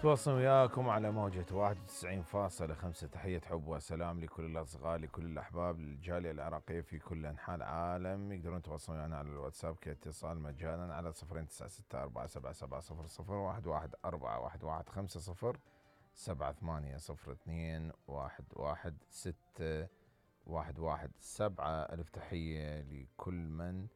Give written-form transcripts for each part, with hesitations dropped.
تواصل وياكم على موجة 91.5. تحية حب وسلام لكل الأصدقاء، لكل الأحباب، للجالية العراقية في كل أنحاء العالم. يقدرون يتواصلون ويانا على الواتساب كاتصال مجانا على 092-475-11-4-11502-116-117. ألف تحية لكل من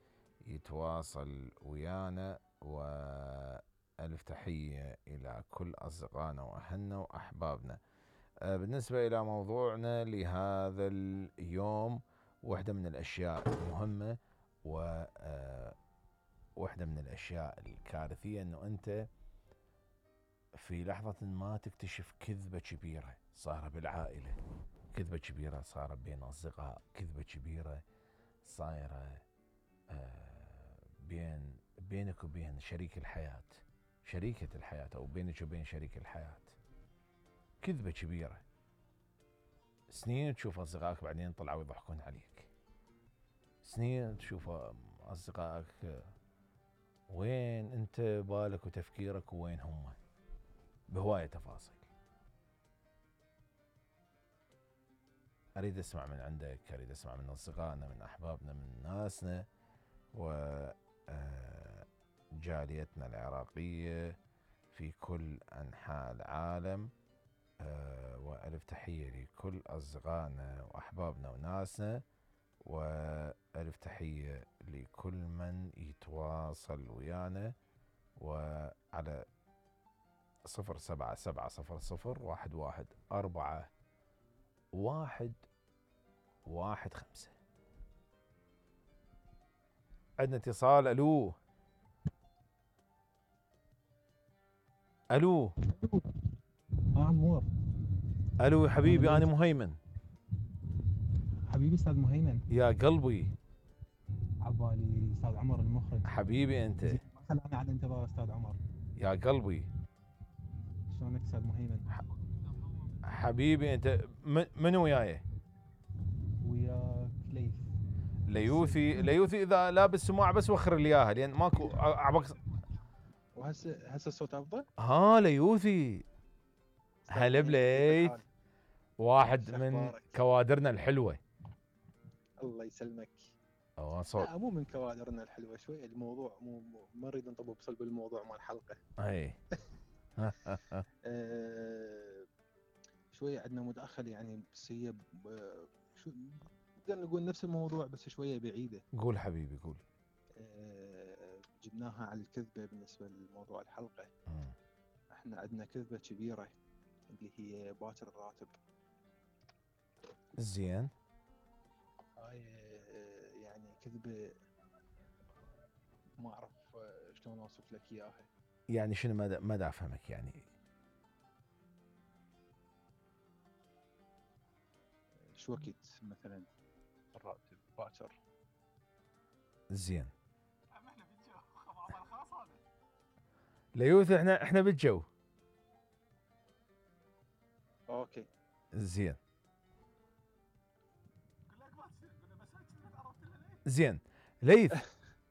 يتواصل ويانا، وألف تحية إلى كل أصدقائنا وأهلنا وأحبابنا. بالنسبة إلى موضوعنا لهذا اليوم، واحدة من الأشياء المهمة وواحدة من الأشياء الكارثية أنه أنت في لحظة ما تكتشف كذبة كبيرة صارت بالعائلة، كذبة كبيرة صارت بين أصدقاء، كذبة كبيرة صايرة بينك وبين شريك الحياة، شريكة الحياة، أو بينك وبين شريك الحياة. كذبة كبيرة، سنين تشوف أصدقائك بعدين طلعوا يضحكون عليك، سنين تشوف أصدقائك وين أنت بالك وتفكيرك وين هم، بهواية تفاصيل. أريد أسمع من عندك، أريد أسمع من أصدقائنا، من أحبابنا، من ناسنا وجاليتنا العراقية في كل أنحاء العالم. وألف تحية لكل أصدقائنا وأحبابنا وناسنا، وألف تحية لكل من يتواصل ويانا، وعلى 077-11-4-115. عندنا اتصال. ألو ألو عمور. ألو يا حبيبي، أنا مهيمن. حبيبي أستاذ مهيمن. يا قلبي. عبالي أستاذ عمر المخرج. حبيبي أنت. مثلا أنا على انتظار أستاذ عمر. يا قلبي. شلونك أستاذ مهيمن؟ حبيبي أنت. من وياي؟ وياك ليث. ليوثي إذا لابس سماعة بس وخر لي إياها لأن ماكو عبك. وهسه الصوت أفضل؟ ليوثي. هلا بليث، واحد من كوادرنا الحلوة. الله يسلمك. صوت. لا مو من كوادرنا الحلوة، شوي الموضوع ما نريد نطب بصلب الموضوع مال الحلقة. اي. شوية عندنا مداخل يعني، بس هي شو نقدر نقول نفس الموضوع بس شوية بعيدة. قول حبيبي قول. جبناها على الكذبة بالنسبة لموضوع الحلقة. احنا عندنا كذبة كبيرة اللي هي باكر الراتب. زين. هاي يعني كذبة ما اعرف شلون اوصف لك اياها. يعني شنو؟ ما افهمك يعني. شو وقت مثلا الراتب باكر؟ زين. احنا بالجو خبر خاص هذا. ليوث احنا بالجو. اوكي زين. زين. ليث.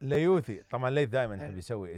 ليوثي طبعا ليث دائما يحب يسوي